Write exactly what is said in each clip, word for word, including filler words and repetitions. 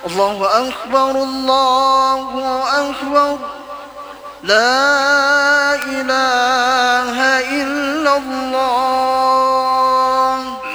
الله أكبر، الله أكبر، لا إله إلا الله.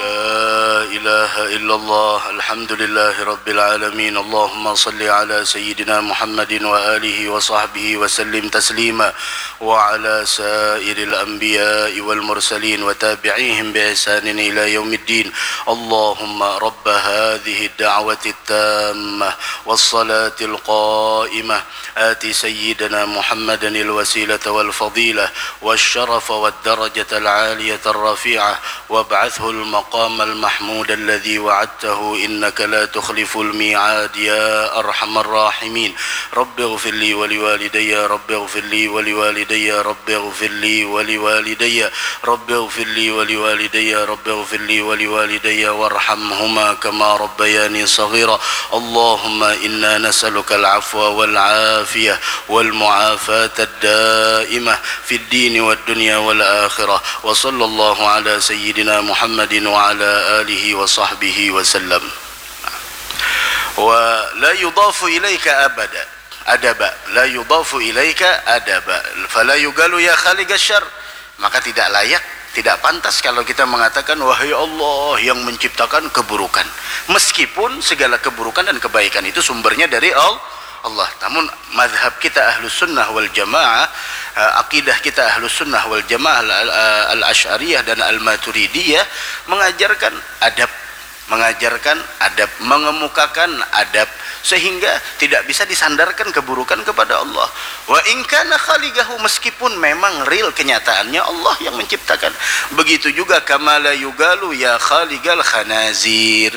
لا إله إلا الله. الحمد لله رب العالمين. اللهم صل على سيدنا محمد وآله وصحبه وسلم تسليما، وعلى سائر الأنبياء والمرسلين وتابعيهم بإحسان إلى يوم الدين. اللهم رب هذه الدعوة التامة والصلاة القائمة، آت سيدنا محمدا الوسيلة والفضيلة والشرف والدرجة العالية الرفيعة، وابعثه المقام المحمود الذي وعدته، إنك لا تخلف الميعاد، يا أرحم الراحمين. رب اغفر لي ولوالدي، رب اغفر لي ولوالدي، رب اغفر لي ولوالدي، رب اغفر لي ولوالدي، رب اغفر لي ولوالدي وارحمهما كما ربياني صغيرا. اللهم إنا نسألك العفو والعافية والمعافاة الدائمة في الدين والدنيا والآخرة. وصلى الله على سيدنا محمد وعلى آله وصحبه وسلم. ولا يضاف إليك أبدا أدبا، لا يضاف إليك أدبا، فلا يقال يا خالق الشر. Maka tidak layak, tidak pantas kalau kita mengatakan, "Wahai Allah yang menciptakan keburukan." Meskipun segala keburukan dan kebaikan itu sumbernya dari Al-, Allah. Namun madhab kita Ahlus Sunnah wal Jamaah, eh, akidah kita Ahlus Sunnah wal Jamaah, al- al- Al-Asy'ariyah dan Al-Maturidiyah mengajarkan adab, mengajarkan adab, mengemukakan adab, sehingga tidak bisa disandarkan keburukan kepada Allah. Wa in kana khaliqahu, meskipun memang real kenyataannya Allah yang menciptakan. Begitu juga kama la yugalu ya khaliqal khanazir.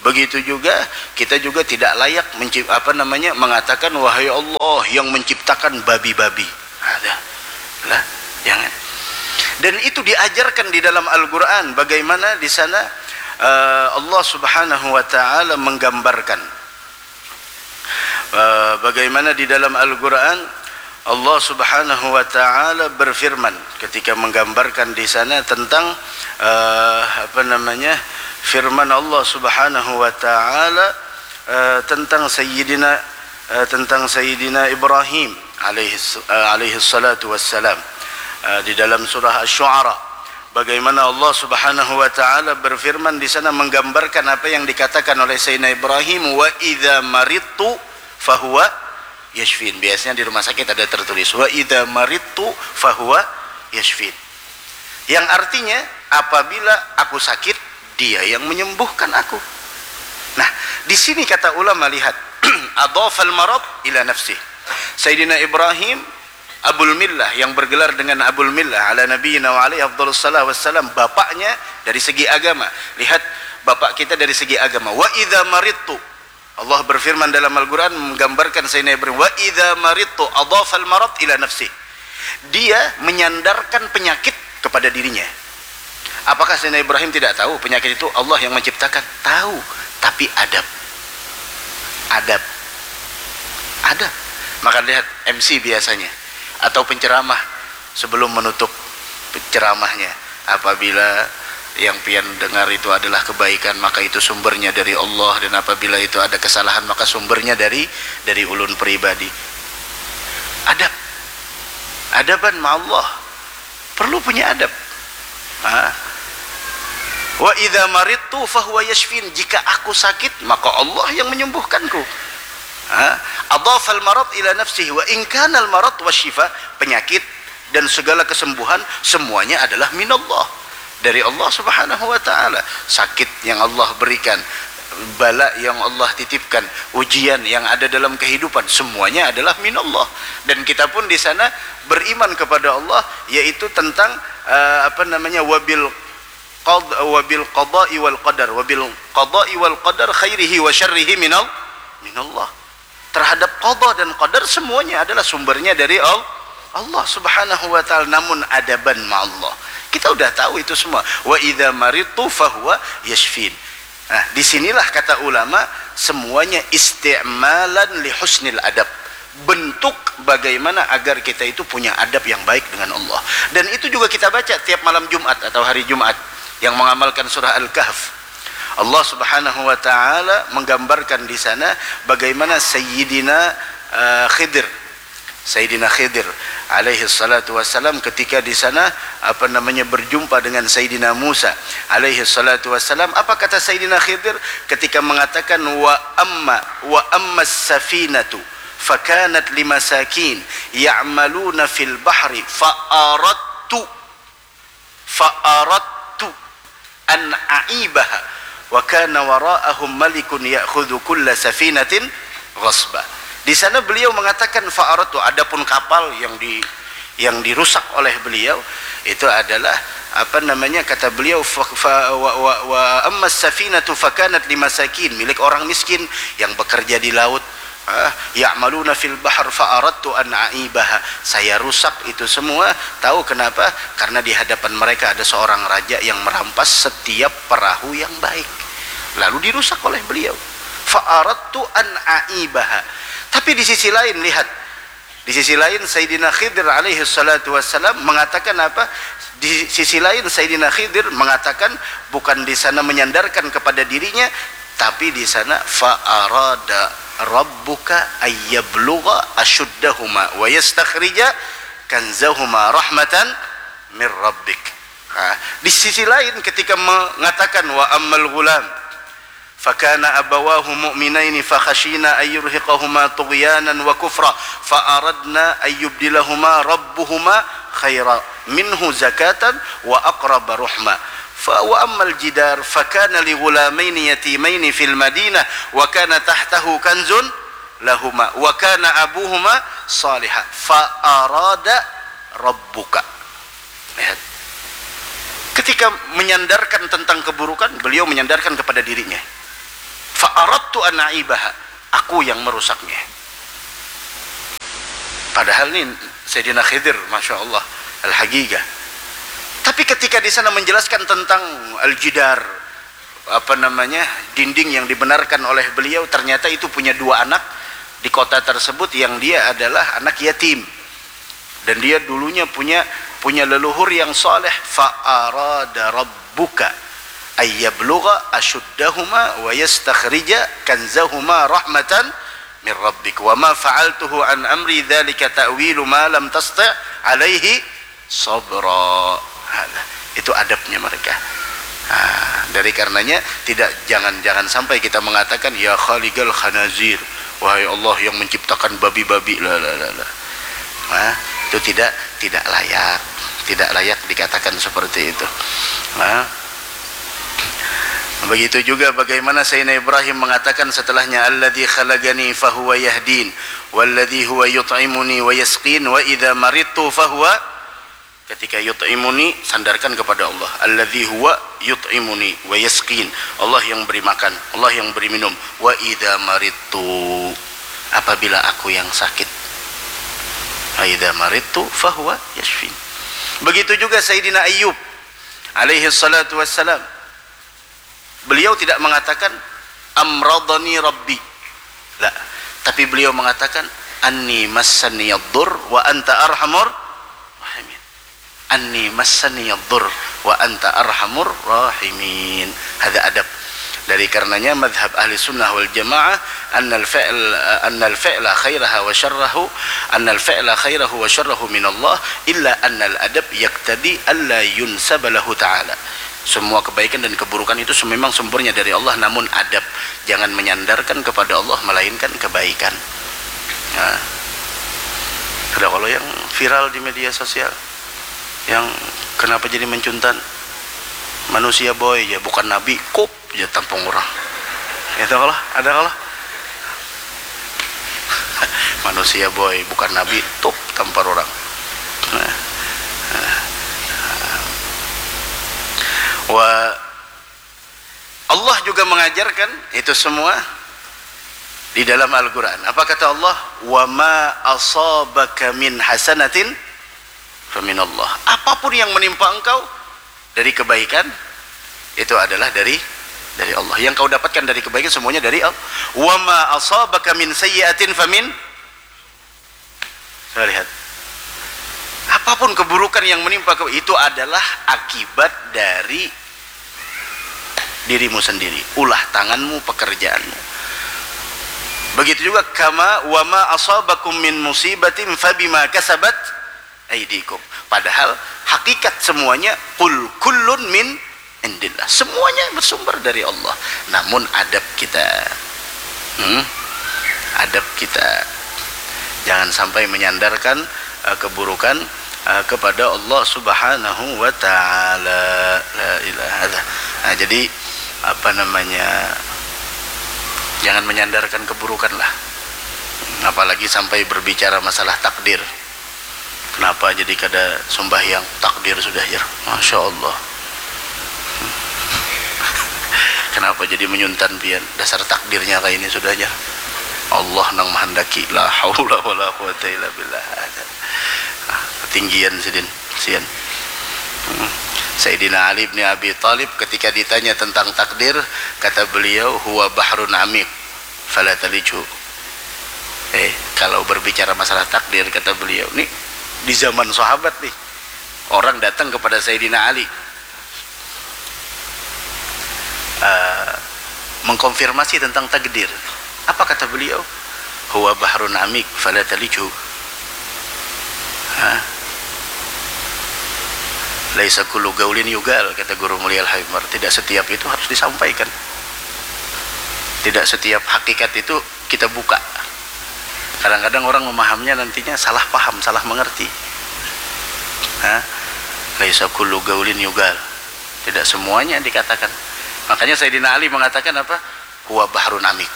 Begitu juga kita juga tidak layak mencip- apa namanya, mengatakan, "Wahai Allah yang menciptakan babi-babi." Ada. Lah, jangan. Dan itu diajarkan di dalam Al-Quran, bagaimana di sana, eh, Allah Subhanahu wa Ta'ala menggambarkan, eh, bagaimana di dalam Al-Quran Allah Subhanahu wa Ta'ala berfirman ketika menggambarkan di sana tentang, eh, apa namanya, firman Allah Subhanahu wa Ta'ala, eh, tentang Sayyidina, eh, tentang Sayyidina Ibrahim alaihis- eh, alaihissalatu wassalam, eh, di dalam surah Asy-Syu'ara, bagaimana Allah Subhanahu wa Ta'ala berfirman di sana, menggambarkan apa yang dikatakan oleh Sayyidina Ibrahim, "Wa idza maridtu fahuwa yashfin." Biasanya di rumah sakit ada tertulis, "Wa idza maridtu fahuwa yashfin." Yang artinya, "Apabila aku sakit, Dia yang menyembuhkan aku." Nah, di sini kata ulama, lihat, "Adhafal marad ila nafsih." Sayyidina Ibrahim Abul Millah, yang bergelar dengan Abul Millah ala nabiyina wa alaihi afdhalus salah wassalam, bapaknya dari segi agama. Lihat, bapak kita dari segi agama. "Wa idza maridtu." Allah berfirman dalam Al-Quran, menggambarkan Sayyidina Ibrahim, "Wa idza maridtu," adhafal marad ila nafsi. Dia menyandarkan penyakit kepada dirinya. Apakah Sayyidina Ibrahim tidak tahu penyakit itu Allah yang menciptakan? Tahu, tapi adab. Adab. Adab. Maka lihat M C biasanya, atau penceramah, sebelum menutup ceramahnya, "Apabila yang pian dengar itu adalah kebaikan, maka itu sumbernya dari Allah, dan apabila itu ada kesalahan, maka sumbernya dari, dari ulun pribadi." Adab. Adaban ma Allah. Perlu punya adab. Ha? "Wa idza maridtu fahuwa yashfin." Jika aku sakit, maka Allah yang menyembuhkanku. Ha? Adhafal marad ila nafsihi, "Wa in kanal marad wasyifa." Penyakit dan segala kesembuhan, semuanya adalah minallah, dari Allah Subhanahu wa Ta'ala. Sakit yang Allah berikan, bala yang Allah titipkan, ujian yang ada dalam kehidupan, semuanya adalah minallah. Dan kita pun di sana beriman kepada Allah, yaitu tentang, eh, apa namanya, wabil qad wabil qada'i wal qadar, wabil qada'i wal qadar khairihi wa syarrihi minal minallah. Terhadap qada dan qadar, semuanya adalah sumbernya dari Al- Allah Subhanahu wa Ta'ala. Namun adaban ma Allah, kita udah tahu itu semua. "Wa idza maridtu fahuwa yashfin." Nah, disinilah kata ulama, semuanya isti'malan li husnil adab. Bentuk bagaimana agar kita itu punya adab yang baik dengan Allah. Dan itu juga kita baca tiap malam Jumat atau hari Jumat yang mengamalkan surah Al-Kahf. Allah Subhanahu wa taala menggambarkan di sana bagaimana Sayyidina uh, Khidir Sayyidina Khidir alaihi salatu wasalam ketika di sana apa namanya berjumpa dengan Sayyidina Musa alaihi salatu wasalam, apa kata Sayyidina Khidir ketika mengatakan wa amma wa ammas safinatu fakanat limasakin ya'maluna fil bahri fa aradtu fa aradtu an aibaha wa kana wara'ahum malikun ya'khudhu kulla safinatin ghasba. Di sana beliau mengatakan fa aradtu, adapun kapal yang di yang dirusak oleh beliau itu adalah apa namanya kata beliau fa, fa, wa, wa, wa ammas safinatu fakanat limasakin, milik orang miskin yang bekerja di laut. Ah, ya'maluna fil bahr fa aradtu an aibaha. Saya rusak itu semua. Tahu kenapa? Karena di hadapan mereka ada seorang raja yang merampas setiap perahu yang baik. Lalu dirusak oleh beliau. Fa aradtu an aibaha. Tapi di sisi lain lihat. Di sisi lain Sayyidina Khidir alaihi salatu wasalam mengatakan apa? Di sisi lain Sayyidina Khidir mengatakan bukan di sana menyandarkan kepada dirinya, tapi di sana fa arada rabbuka ayyablugha ashuddahuma wa yastakhrija kanzahuma rahmatan mir rabbik. Nah, di sisi lain ketika mengatakan wa ammal ghulam fakana abawahu mu'minaini fakhasyina ayyurhiqahuma tughyanan wa kufra fa aradna ayyubdilahuma rabbuhuma khaira minhu zakatan wa aqraba ruhma. Fa wa ammal jidar fakana li ghulamaini yatimaini fil madinah wa kana tahtahu kanzun lahuma wa kana abuhuma saliha fa arada rabbuka. Lihat. Ketika menyandarkan tentang keburukan, beliau menyandarkan kepada dirinya. Fa aradtu an aibaha, aku yang merusaknya. Padahal ini Sayyidina Khidir, Masya Allah, al-haqiqah. Tapi ketika di sana menjelaskan tentang al-jidar, apa namanya, dinding yang dibenarkan oleh beliau, ternyata itu punya dua anak di kota tersebut yang dia adalah anak yatim. Dan dia dulunya punya punya leluhur yang saleh. Fa arada rabbuka ayyablugha ashuddahuma wa yastakhrija kanzahuma rahmatan min rabbik wa ma fa'altuhu an amri dzalika ta'wilu ma lam tasti' alaihi sabra. Nah, itu adabnya mereka. Nah, dari karenanya tidak jangan jangan sampai kita mengatakan ya khaliqal khanazir, wahai Allah yang menciptakan babi-babi, la la la la. Nah, itu tidak tidak layak, tidak layak dikatakan seperti itu. Nah, begitu juga bagaimana Sayyidina Ibrahim mengatakan setelahnya alladzi khalaqani fahuwa yahdin walladzi huwa yut'imuni wa yasqin wa idza maridtu fahuwa ketika yut'imuni sandarkan kepada Allah alladzi huwa yut'imuni wa yasqin, Allah yang beri makan, Allah yang beri minum. Wa idza maridtu, apabila aku yang sakit. Wa idza maridtu fahuwa yashfin. Begitu juga Sayyidina Ayyub alaihi salatu wassalam. Beliau tidak mengatakan amradani rabbi. La. Tapi beliau mengatakan anni massaniyaddur wa anta arhamur rahimin. Anni massaniyaddur wa anta arhamur rahimin. Ada adab. Dari karenanya madhab ahli sunnah wal jamaah annal fi'l annal fi'la khairaha wa syarrahu annal fi'la khairahu wa syarrahu minallah illa annal adab yaktadi alla yunsaba lahu ta'ala. Semua kebaikan dan keburukan itu memang sumbernya dari Allah, namun adab, jangan menyandarkan kepada Allah melainkan kebaikan. Nah, ada kalau yang viral di media sosial yang kenapa jadi mencuntan manusia boy ya bukan nabi kup ya tampung orang itu kalau ada kalau manusia boy bukan nabi tup tampar orang nah. Nah. Wa Allah juga mengajarkan itu semua di dalam Al-Quran. Apa kata Allah? Wa ma asabaka min hasanatin faminallah. Apapun yang menimpa engkau dari kebaikan itu adalah dari dari Allah. Yang kau dapatkan dari kebaikan semuanya dari Allah. Wa ma asabaka min sayyi'atin famin Saya lihat. Apapun keburukan yang menimpa kau itu adalah akibat dari dirimu sendiri, ulah tanganmu, pekerjaanmu. Begitu juga kama wa ma asabakum min musibatin fabima kasabat aidikum. Padahal hakikat semuanya, qul kullun min indillah. Semuanya bersumber dari Allah. Namun adab kita. Hmm? Adab kita. Jangan sampai menyandarkan uh, keburukan uh, kepada Allah Subhanahu wa taala. La ilaha illallah. Nah, jadi apa namanya? Jangan menyandarkan keburukan lah. Apalagi sampai berbicara masalah takdir. Kenapa jadi kada sembahyang? Takdir sudah, jar. Masya Allah. Kenapa jadi menyuntan pian? Dasar takdirnya kayak ini sudah, jar. Allah nang menghendaki. La haula wala quwata illa billah. Nah, ketinggian sidin, sian. Hmm. Sayyidina Ali bin Abi Thalib ketika ditanya tentang takdir, kata beliau, huwa bahrun amik, fala talijhu. Eh, kalau berbicara masalah takdir, kata beliau, nih di zaman sahabat nih, orang datang kepada Sayyidina Ali uh, mengkonfirmasi tentang takdir. Apa kata beliau? Huwa bahrun amik, fala talijhu. Laisa kullu gaulin yugal, kata Guru Mulia Al-Habib Umar. Tidak setiap itu harus disampaikan. Tidak setiap hakikat itu kita buka. Kadang-kadang orang memahamnya nantinya salah paham, salah mengerti. Laisa kullu gaulin yugal. Tidak semuanya dikatakan. Makanya Sayyidina Ali mengatakan apa? Huwa bahrun amik.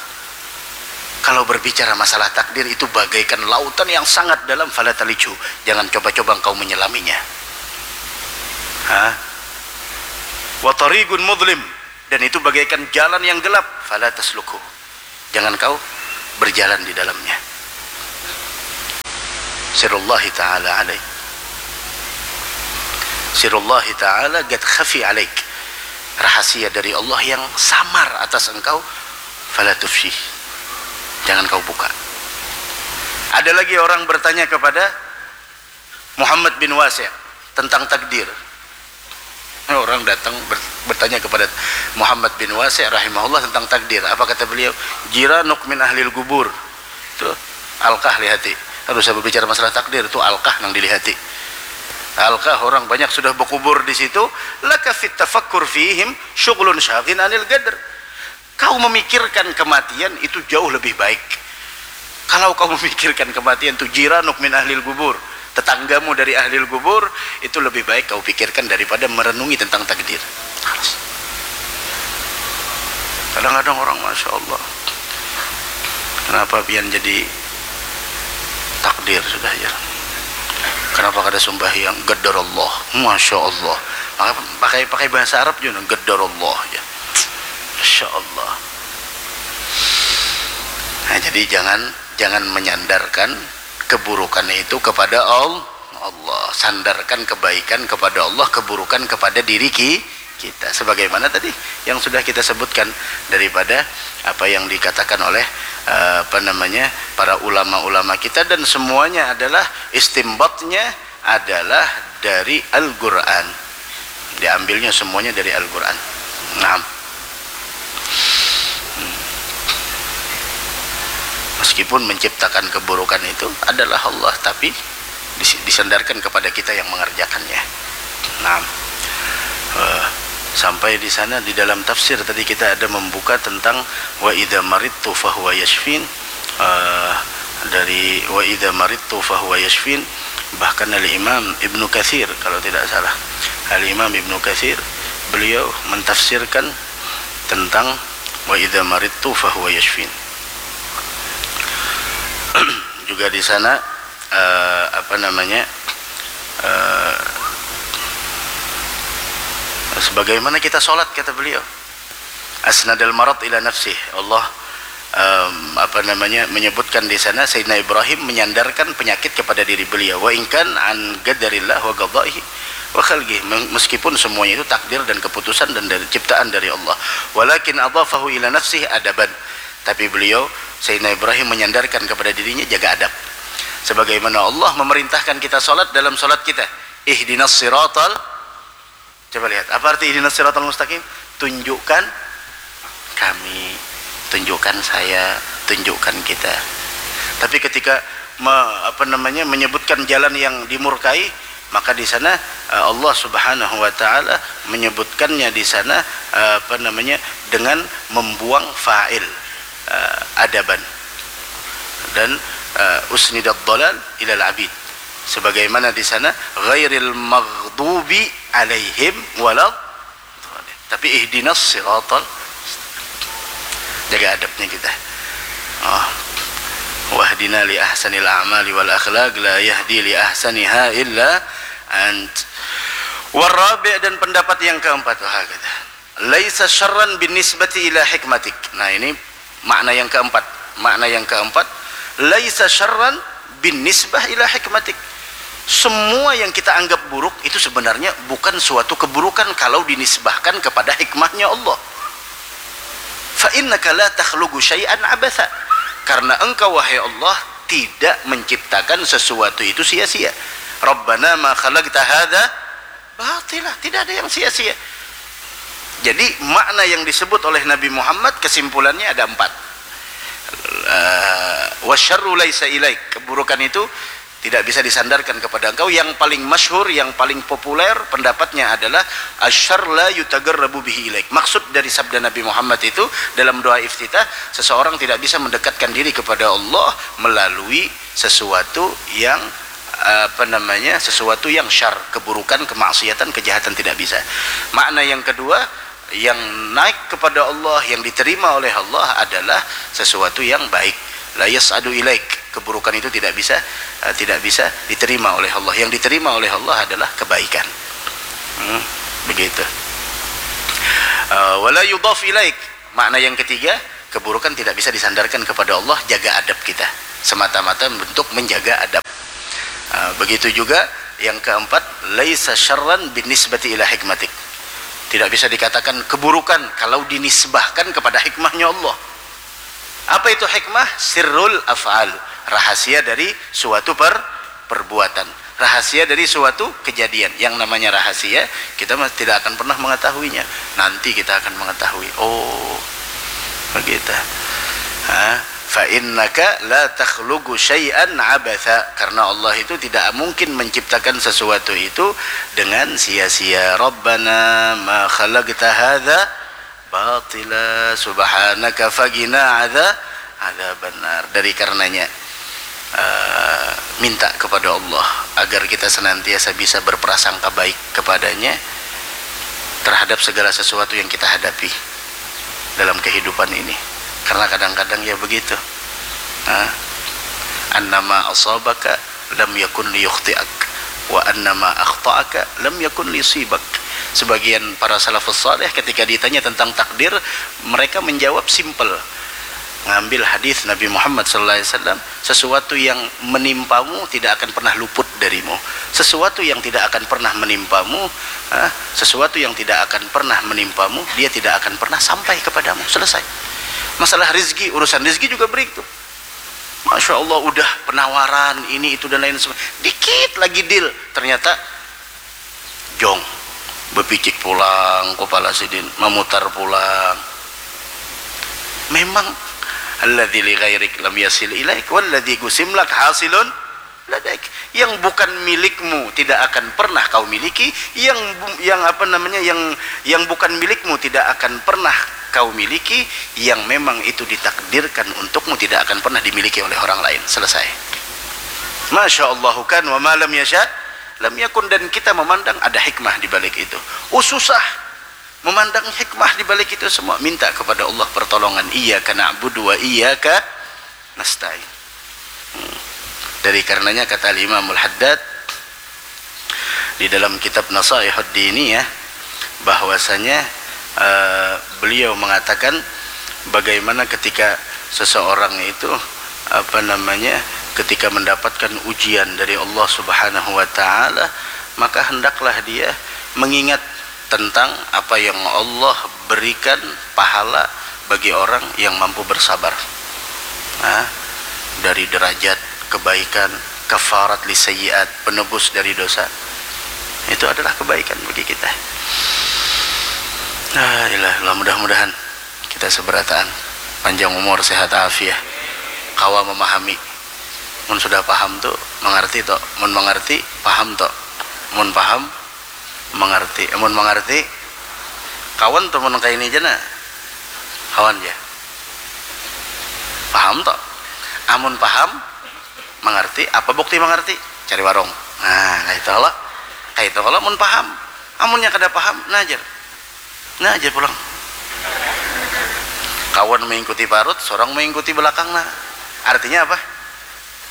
Kalau berbicara masalah takdir itu bagaikan lautan yang sangat dalam, fala talijhu. Jangan coba-coba engkau menyelaminya. Hah? Wa tariqun mudlim. Dan itu bagaikan jalan yang gelap, fala taslukhu. Jangan kau berjalan di dalamnya. Sirullahi ta'ala alaik. Sirullahi ta'ala gad khafi alaik. Rahasia dari Allah yang samar atas engkau, fala tufshih. Jangan kau buka. Ada lagi orang bertanya kepada Muhammad bin Wasi' tentang takdir. Orang datang bertanya kepada Muhammad bin Wasi' rahimahullah tentang takdir. Apa kata beliau? Jiranuk min ahlil gubur. Itu alkah lihati. Harus saya berbicara masalah takdir itu alkah nang dilihati. Alkah orang banyak sudah berkubur di situ. Laka fit tafakkur fihim syughlun syaghin anil gadr. Kau memikirkan kematian itu jauh lebih baik. Kalau kau memikirkan kematian tu jiranuk min ahlil gubur, tetanggamu dari ahlil gubur, itu lebih baik kau pikirkan daripada merenungi tentang takdir. Kadang-kadang orang, masya Allah, kenapa pian jadi takdir sudah ya? Kenapa kada sembahyang? Gadar Allah, masya Allah. Pakai pakai bahasa Arab juga gadar Allah ya. Masya Allah. Nah, jadi jangan jangan menyandarkan keburukan itu kepada Allah. Sandarkan kebaikan kepada Allah, keburukan kepada diri kita. Sebagaimana tadi yang sudah kita sebutkan daripada apa yang dikatakan oleh eh, apa namanya para ulama-ulama kita, dan semuanya adalah istimbatnya adalah dari Al-Quran. Diambilnya semuanya dari Al-Quran. Nah, meskipun menciptakan keburukan itu adalah Allah, tapi disandarkan kepada kita yang mengerjakannya. Nah, uh, sampai di sana di dalam tafsir tadi kita ada membuka tentang wa idza maridtu fahuwa yashfin. Uh, dari wa idza maridtu fahuwa yashfin, bahkan Al Imam Ibnu Katsir kalau tidak salah, Al Imam Ibnu Katsir, beliau mentafsirkan tentang wa idza maridtu fahuwa yashfin. Juga di sana uh, apa namanya uh, sebagaimana kita sholat, kata beliau, asnadal marad ila nafsih. Allah um, apa namanya menyebutkan di sana Sayyidina Ibrahim menyandarkan penyakit kepada diri beliau, wa inkan an gadarillah wa gadaihi wa khalqih, meskipun semuanya itu takdir dan keputusan dan dari ciptaan dari Allah, walakin adhafahu ila nafsih adaban, tapi beliau Sayyidina Ibrahim menyandarkan kepada dirinya jaga adab. Sebagaimana Allah memerintahkan kita salat dalam salat kita, ihdinas siratal, coba lihat, apa arti ihdinas siratal mustaqim? tunjukkan kami, tunjukkan saya, tunjukkan kita. Tapi ketika me, apa namanya, menyebutkan jalan yang dimurkai, maka di sana, eh, Allah Subhanahu wa taala menyebutkannya di sana, eh, apa namanya, dengan membuang fa'il, eh, adaban. Dan, eh, usnidad dalal ilal abid. Sebagaimana di sana, ghairil maghdubi alaihim walad Tapi ihdinas siratal, jaga adabnya kita. Oh. Wahdina li ahsanil a'mali wal akhlaq, la yahdi li ahsaniha illa ant. Warabi', dan pendapat yang keempat, wah, kata. Laisa syarran bin nisbati ila hikmatik. Nah, ini makna yang keempat. Makna yang keempat, laisa syarran bin nisbah ila hikmatik. Semua yang kita anggap buruk itu sebenarnya bukan suatu keburukan kalau dinisbahkan kepada hikmahnya Allah. Fa innaka la takhluqu syai'an abatha. Karena engkau, wahai Allah, tidak menciptakan sesuatu itu sia-sia. Rabbana ma khalaqta hadza batila. Tidak ada yang sia-sia. Jadi, makna yang disebut oleh Nabi Muhammad, kesimpulannya ada empat. Eh, wasyarru laisa ilaik. Keburukan itu tidak bisa disandarkan kepada engkau. Yang paling masyhur, yang paling populer pendapatnya adalah asyar la yutagarrabu bihi ilaik. Maksud dari sabda Nabi Muhammad itu dalam doa iftitah, seseorang tidak bisa mendekatkan diri kepada Allah melalui sesuatu yang, apa namanya, sesuatu yang syar, keburukan, kemaksiatan, kejahatan, tidak bisa. Makna yang kedua, yang naik kepada Allah, yang diterima oleh Allah adalah sesuatu yang baik. La yas'adu ilaik, keburukan itu tidak bisa, eh, tidak bisa diterima oleh Allah. Yang diterima oleh Allah adalah kebaikan. Hmm, begitu. Eh, wala yudhaf ilaik. Makna yang ketiga, keburukan tidak bisa disandarkan kepada Allah, jaga adab kita. Semata-mata untuk menjaga adab. Eh, begitu juga yang keempat, laisa syarran bin nisbati ila hikmatik. Tidak bisa dikatakan keburukan kalau dinisbahkan kepada hikmahnya Allah. Apa itu hikmah? Sirrul af'al, rahasia dari suatu per-, perbuatan, rahasia dari suatu kejadian. Yang namanya rahasia, kita mas-, tidak akan pernah mengetahuinya. Nanti kita akan mengetahui. Oh, begitu. Ha? Fa innaka la takhluqu syai'an abatha. Karena Allah itu tidak mungkin menciptakan sesuatu itu dengan sia-sia. Rabbana ma khalaqta hadza batila, subhanaka faqina adza-, adzabannar. Dari karenanya, eh, minta kepada Allah agar kita senantiasa bisa berprasangka baik kepadanya terhadap segala sesuatu yang kita hadapi dalam kehidupan ini. Karena kadang-kadang ya begitu. Nah, annama asabaka lam yakun liyukhti'ak, wa annama akhta'aka lam yakun liyusibak. Sebagian para salafus saleh ketika ditanya tentang takdir, mereka menjawab simple. Ngambil hadis Nabi Muhammad sallallahu alaihi wasallam, sesuatu yang menimpamu tidak akan pernah luput darimu. Sesuatu yang tidak akan pernah menimpamu, ah, sesuatu yang tidak akan pernah menimpamu, dia tidak akan pernah sampai kepadamu. Selesai. Masalah rizki, urusan rizki juga begitu. Masya Allah, udah penawaran ini, itu, dan lain sebagainya. Dikit lagi deal, ternyata jong. Bepicik pulang kepala sidin, memutar pulang. Memang, alladzi li ghairik lam yasil ilaik, walladzi qusim lak hasilun ladaik. Yang bukan milikmu tidak akan pernah kau miliki, yang bu-, yang apa namanya, yang, yang bukan milikmu tidak akan pernah kau miliki, yang memang itu ditakdirkan untukmu tidak akan pernah dimiliki oleh orang lain. Selesai. Masya Allahu kan, wa ma lam yasya lam yakun. Dan kita memandang ada hikmah di balik itu. Oh, susah memandang hikmah di balik itu semua. Minta kepada Allah pertolongan. Iyyaka na'budu wa iyyaka nasta'in. Hmm. Dari karenanya kata Al-Imamul Haddad di dalam kitab Nasaihud Diniyah, bahwasanya, eh, beliau mengatakan, bagaimana ketika seseorang itu, apa namanya, ketika mendapatkan ujian dari Allah Subhanahu wa Ta'ala, maka hendaklah dia mengingat tentang apa yang Allah berikan pahala bagi orang yang mampu bersabar. Nah, dari derajat kebaikan, kafarat li sayyiat, penebus dari dosa. Itu adalah kebaikan bagi kita. La ilaha illallah, mudah-mudahan kita seberataan panjang umur, sehat afiah, kawa memahami. Mun sudah paham tu mengerti to, mun mengerti paham to, mun paham mengerti, mun mengerti kawan to, mun kaini ja nah kawan ja, paham to, amun paham mengerti, apa bukti mengerti? Cari warung. Nah, kaitu kalo, kaitu kalo mun paham. Amunnya kada paham, nah jar, nah jar pulang. Kawan mengikuti parut, sorang mengikuti belakang. Nah, artinya apa?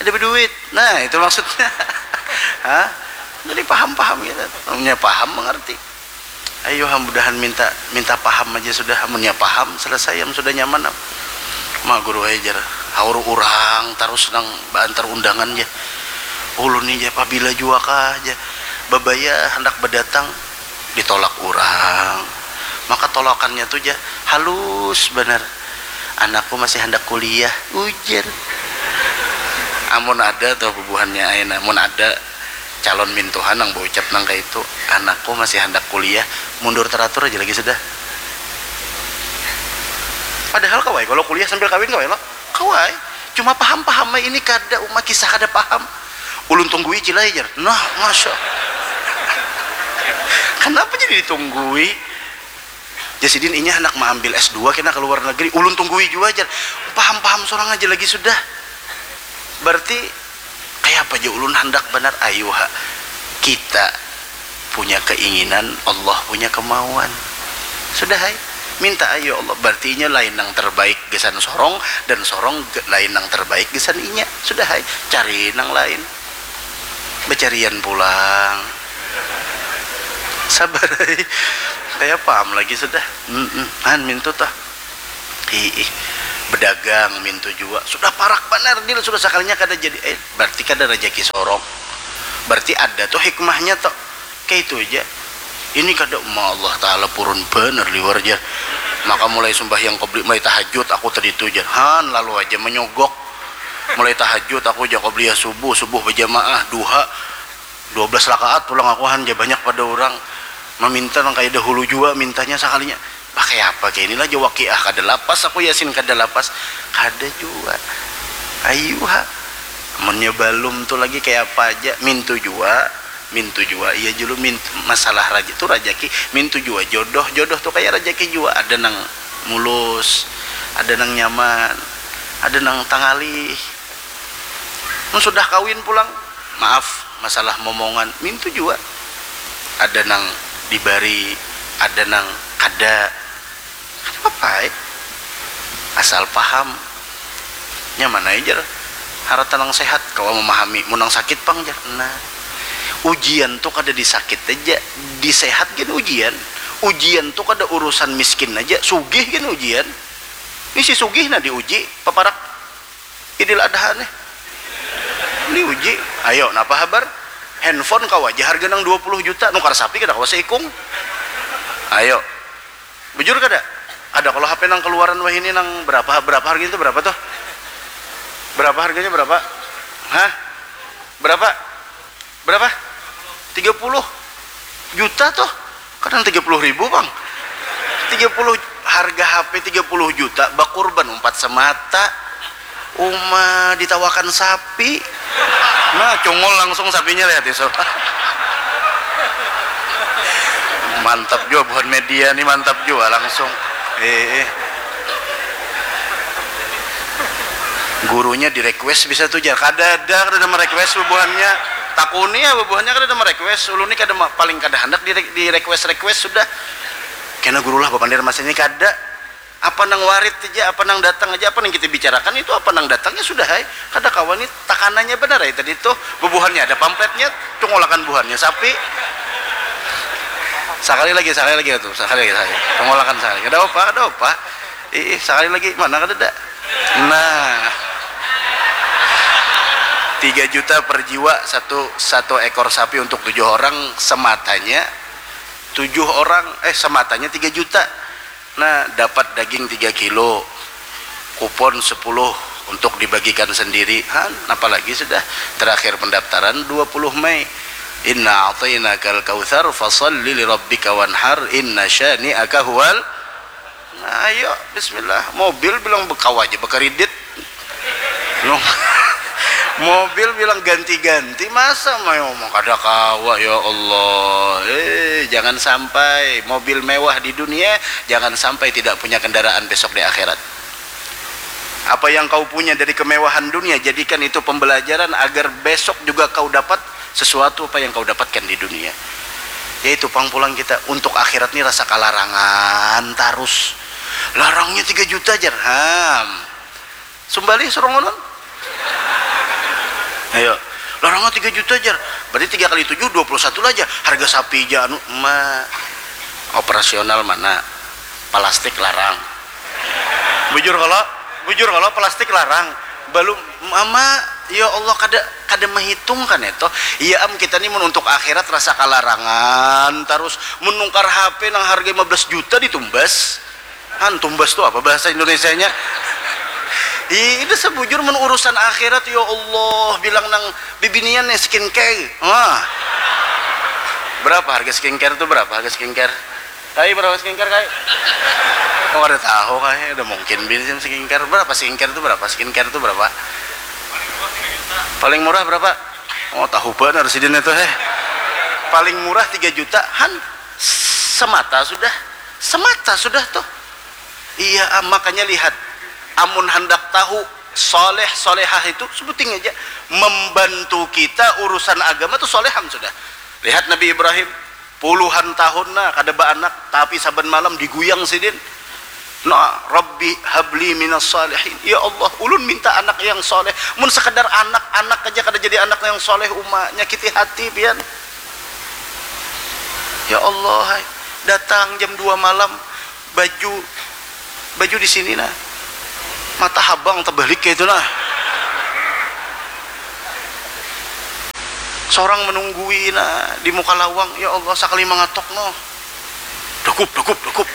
Ada beduit. Nah, itu maksudnya. Hah? Jadi paham-paham gitu. Amunnya paham mengerti. Ayo, mudahan minta, minta paham aja sudah. Amunnya paham, selesai, am sudah nyaman am. Ma guru ai jar, haur urang tarus nang baantar undangan ja. Ulun ni ja pabila jua kah ja, babaya handak badatang, ditolak urang. Maka tolakannya tu ja halus banar. Anakku masih handak kuliah, ujar. Amun ada tuh bubuhannya ai nah, mun ada calon mintuhan nang baucap nang kaitu, anakku masih handak kuliah, mundur teratur aja lagi sudah. Padahal kawai kalo kuliah sambil kawin kawai lo, kawai. Cuma paham-paham ai ini kada, uma kisah kada paham. Ulun tunggui cilai jar. Nah, masya. Kenapa jadi ditunggui? Jar sidin, inya handak maambil S dua kena ka luar negeri. Ulun tunggui jua jar. Paham-paham sorang aja lagi sudah. Berarti kayapa ja ulun handak banar, ayu ha. Kita punya keinginan, Allah punya kemauan. Sudah ai. Minta ayu Allah. Berarti inya lain nang terbaik gasan sorong dan sorong ge-, lain nang terbaik gasan inya. Sudah ai. Cari nang lain. Becarian pulang. Sabar ai. Kaya paham lagi sudah. Mm-mm. Han mintu tah. Hiih. Bedagang mintu jua. Sudah parak banar deal, sudah sakalinya kada jadi. Eh, berarti kada rajaki sorong. Berarti ada tuh hikmahnya tuh. Kaitu aja. Ini kada, ma Allah Ta'ala purun banar liwar jar. Maka mulai sumbahyang qobli, mulai tahajud aku tadi tu jar. Han, lalu aja menyogok. Mulai tahajud aku ja qobliyah subuh, subuh bajamaah, duha, dua belas rakaat pulang aku han ja, banyak pada urang maminta nang kaya dahulu jua mintanya sakalinya. Bah, kaya apa kaya inilah ja wakiah, kada lapas aku Yasin, kada lapas, kada jua. Ayu ha. Munnya balum tu lagi kaya apa aja, mintu jua. Mintu jua, iya julu mintu, masalah raja-, tu rajaki, mintu jua jodoh, jodoh tu kaya rajaki jua, ada nang mulus, ada nang nyaman, ada nang tangalih. Mun sudah kawin pulang, maaf, masalah momongan, mintu jua, ada nang dibari, ada nang kada. Kada papa ai. Asal paham. Nyaman ai jar. Harata nang sehat, kawa memahami. Mun nang sakit pang jar. Nah. Ujian tu kada di sakit aja. Di sehat gin ujian. Ujian tu kada urusan miskin aja. Sugih gin ujian. Ni si sugih nah diuji. Paparak Idil Adha nih. Diuji. Ayo, napa habar? Handphone kawa aja harga nang dua puluh juta. Nukar sapi kada kawa seikung. Ayo. Bujur kada? Ada kalau H P nang keluaran wahini nang berapa, berapa harganya itu, berapa tuh? Berapa harganya, berapa? Hah? Berapa? Berapa? Tiga puluh juta tuh. Kadang tiga puluh ribu, Bang. Tiga puluh, harga H P tiga puluh juta, bakurban umpat semata. Uma ditawakan sapi. Nah, cungul langsung sapinya, lihat isu. Mantap jua buhan media nih, mantap jua langsung. Eh, eh. Gurunya di request bisa tuh jar. Kada ada, kada ada merequest bubuhannya. Takuni ya bubuhannya, kada ada merequest. Ulun nih kada ma-, paling kada handak di, di request, request sudah. Kena gurulah bapandir masa ini kada. Apa nang warit aja, apa nang datang aja, apa nang kita bicarakan itu apa nang datangnya sudah ai. Kada kawa ni takanannya banar ai tadi tuh. Bubuhannya ada pampletnya, cungulakan buhannya sapi. Sakali lagi, sakali lagi tuh, sakali lagi, sakali. Cungulakan sakali. Kada apa, kada apa. Ih, sakali lagi, mana kada ada. Nah. Tiga juta per jiwa satu, satu ekor sapi untuk tujuh orang sematanya. Tujuh orang, eh, sematanya tiga juta. Nah, dapat daging tiga kilo, kupon sepuluh untuk dibagikan sendiri. Han, apalagi sudah terakhir pendaftaran dua puluh Mei. Inna a'tainakal kautsar, fasalli lirabbika wanhar, inna syani'aka huwal. Nah, ayo, bismillah. Mobil bilang bekawa aja, bakaridit. Mobil bilang ganti-ganti, masa mau kada kawa, ya Allah. Eh, jangan sampai mobil mewah di dunia, jangan sampai tidak punya kendaraan besok di akhirat. Apa yang kau punya dari kemewahan dunia, jadikan itu pembelajaran agar besok juga kau dapat sesuatu apa yang kau dapatkan di dunia. Yaitu pang pulang kita untuk akhirat ni rasa kalarangan tarus. Larangnya tiga juta jar. Ham. Sumbalih suruh ngunun. Ayo. Larangnya tiga juta jar. Berarti tiga kali tujuh, dua puluh satu lah aja. Harga sapi aja anu, ma, operasional mana? Plastik larang. Bujur kalau, bujur kalau plastik larang. Belum, mama, ya Allah, kada, kada menghitung kan itu. Iya am, kita ni mun untuk akhirat rasa kalarangan terus menukar H P nang harga lima belas juta ditumbas. Han, tumbas tu apa bahasa Indonesianya? Ih, ini sebujur mun urusan akhirat, ya Allah, bilang nang bibinian nih skincare. Wah. Berapa harga skincare tu? Berapa harga skincare? Kai, berapa skincare, kai? Oh, kada tahu, kai. Udah mungkin bini skincare. Berapa skincare tu? Berapa skincare tu? Berapa? Paling murah berapa? Oh, tahu benar sidin itu, heh. Paling murah tiga juta, han, semata sudah. Semata sudah tuh. Iya, ah, makanya lihat, amun handak tahu soleh solehah itu, sebuting aja membantu kita urusan agama tuh soleham sudah. Lihat Nabi Ibrahim, puluhan tahun nah kada baanak, tapi saban malam diguyang sidin. Nah, Rabbi habli minas salihin. Ya Allah, ulun minta anak yang soleh. Mun sekadar anak, anak aja kada jadi anak yang soleh, uma, nyakiti hati pian. Ya Allah, hai. Datang jam dua malam, baju, baju di sini nah, mata habang terbalik kayak itu nah. Seorang menunggui nah di muka lawang, ya Allah, sakali mangatok noh, dakup, dakup, dakup,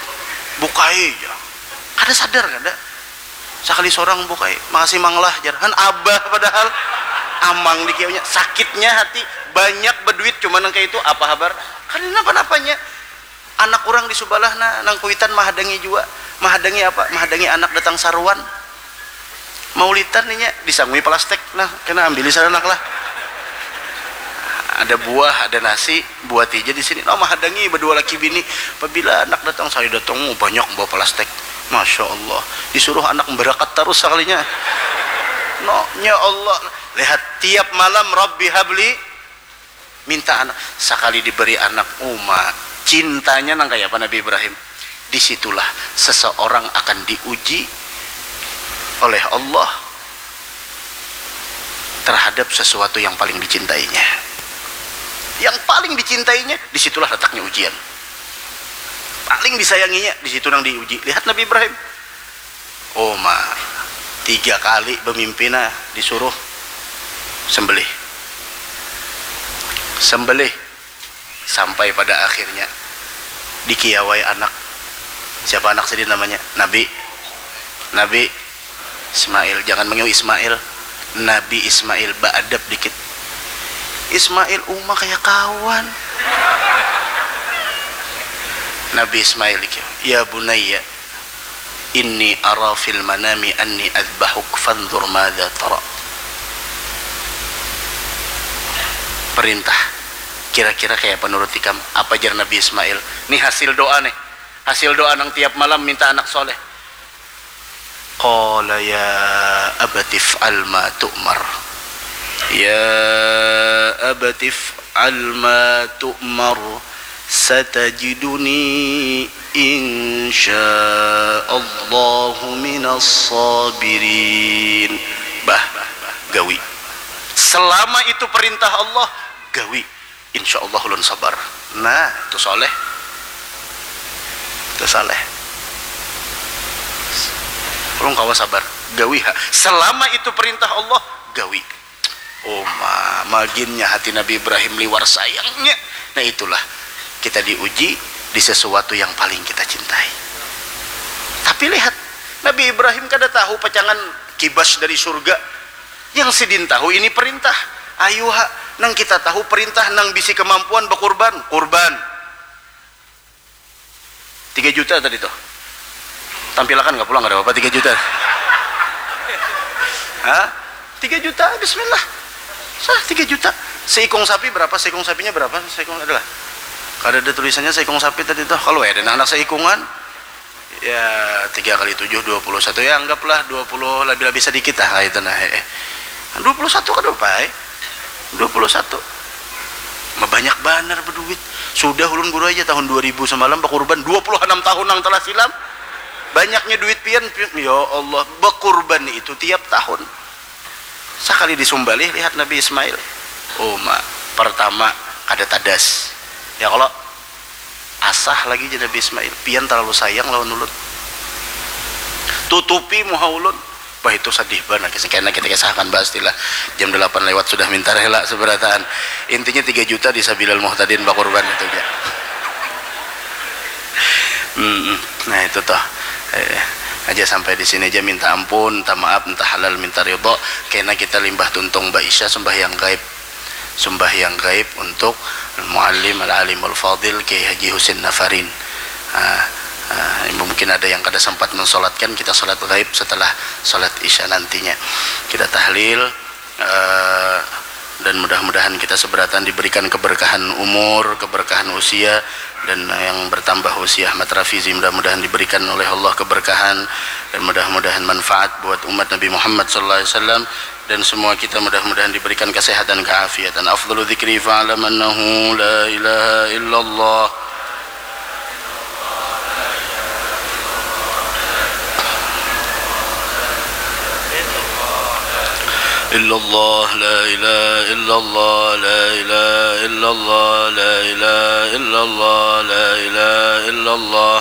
bukai ja. Kada sadar kada. Sakali sorang bukai, makasih mang lah jar. Han abah padahal. Amang dikiaunya, sakitnya hati, banyak beduit cuma nang kayak itu, apa habar? Kada napa-napanya. Anak urang di subalah nah, nang kuitan mahadangi jua. Mahadangi apa? Mahadangi anak datang saruan. Maulitan inya, disangui plastik. Nah, kena ambili sana anak lah. Ada buah, ada nasi, buati ja di sini. Nah, mahadangi badua laki bini. Pabila anak datang, saya datang, oh, banyak bawa plastik. Masya Allah. Disuruh anak berakat tarus sakalinya. No, ya Allah. Lihat, tiap malam, Rabbi habli, minta anak. Sakali diberi anak, uma, cintanya nang kaya apa Nabi Ibrahim. Disitulah seseorang akan diuji oleh Allah terhadap sesuatu yang paling dicintainya. Yang paling dicintainya, disitulah letaknya ujian. Paling disayanginya, di situ nang diuji. Lihat Nabi Ibrahim. Uma, tiga kali bemimpi nah, disuruh sembelih. Sembelih. Sampai pada akhirnya dikiawai anak. Siapa anak sidin namanya? Nabi. Nabi Ismail. Jangan mangiau Ismail. Nabi Ismail, baadab dikit. Ismail, uma kaya kawan. Nabi Ismail dikiau, "Ya bunayya, inni ara fil manami anni adbahuk fanzur madza tara." Perintah. Kira-kira kayak apa nurut ikam? Apa jar Nabi Ismail? Nih hasil doa nih. Hasil doa nang tiap malam minta anak soleh. Qala ya abati f'al ma tu'mar. Ya abati f'al ma tu'mar. Satajiduni insya Allahu minas sabirin. Bah, gawi. Selama itu perintah Allah, gawi. Insya Allah ulun sabar. Nah, itu soleh. Itu soleh. Ulun kawa sabar. Gawi ha. Selama itu perintah Allah, gawi. Uma, maginnya hati Nabi Ibrahim liwar sayangnya. Nah, itulah kita diuji di sesuatu yang paling kita cintai. Tapi lihat, Nabi Ibrahim kada tahu pacangan kibas dari surga. Yang sidin tahu ini perintah. Ayu ha, Nang kita tahu perintah nang bisi kemampuan bekurban, kurban. Tiga juta tadi tuh. Tampilakan nggak pulang, nggak ada apa-apa, tiga juta. Hah? Tiga juta, bismillah. Sah, tiga juta. Seikung sapi berapa? Seikung sapinya berapa? Seikung adalah. Kada ada tulisannya seikung sapi tadi tuh. Kalau ada anak seikungan, ya tiga kali tujuh, dua puluh satu. Ya anggaplah dua puluh, lebih-lebih sedikit lah itu nah. Eh. Dua puluh satu kada apa, eh? Dua puluh satu. Banyak banar berduit. Sudah ulun guru aja tahun dua ribu semalam berkurban dua puluh enam tahun yang telah silam. Banyaknya duit pian, pi-, ya Allah, berkurban itu tiap tahun. Sakali disumbalih lihat Nabi Ismail. Uma, pertama, kada tadas. Ya kalau asah lagi, jar Nabi Ismail, pian terlalu sayang lawan ulun. Tutupi muha ulun. Wah, itu sedih banar. Kisah kena kita kisahkan, bahas istilah jam delapan lewat sudah minta rela seberataan. Intinya tiga juta di Sabilal Muhtadin bakurban itu aja. Hmm, nah itu toh. Eh, aja sampai di sini aja, minta ampun, minta maaf, minta halal, minta ridho. Kena kita limbah tuntung baisya sembahyang gaib. Sembahyang gaib untuk Muallim Al-Alimul Fadil Kiai Haji Husin Nafarin. Ah, ah, mungkin ada yang kada sempat mensolatkan, kita solat gaib setelah solat isya nantinya. Kita tahlil, eh, dan mudah-mudahan kita seberatan diberikan keberkahan umur, keberkahan usia, dan yang bertambah usia Ahmad Rafizi mudah-mudahan diberikan oleh Allah keberkahan, dan mudah-mudahan manfaat buat umat Nabi Muhammad sallallahu alaihi wasallam, dan semua kita mudah-mudahan diberikan kesehatan, keafiatan. Afdalu dzikri fa'lam annahu la ilaha illallah. Illallah, la ilaha illallah, la ilaha illallah, la ilaha illallah, la ilaha illallah.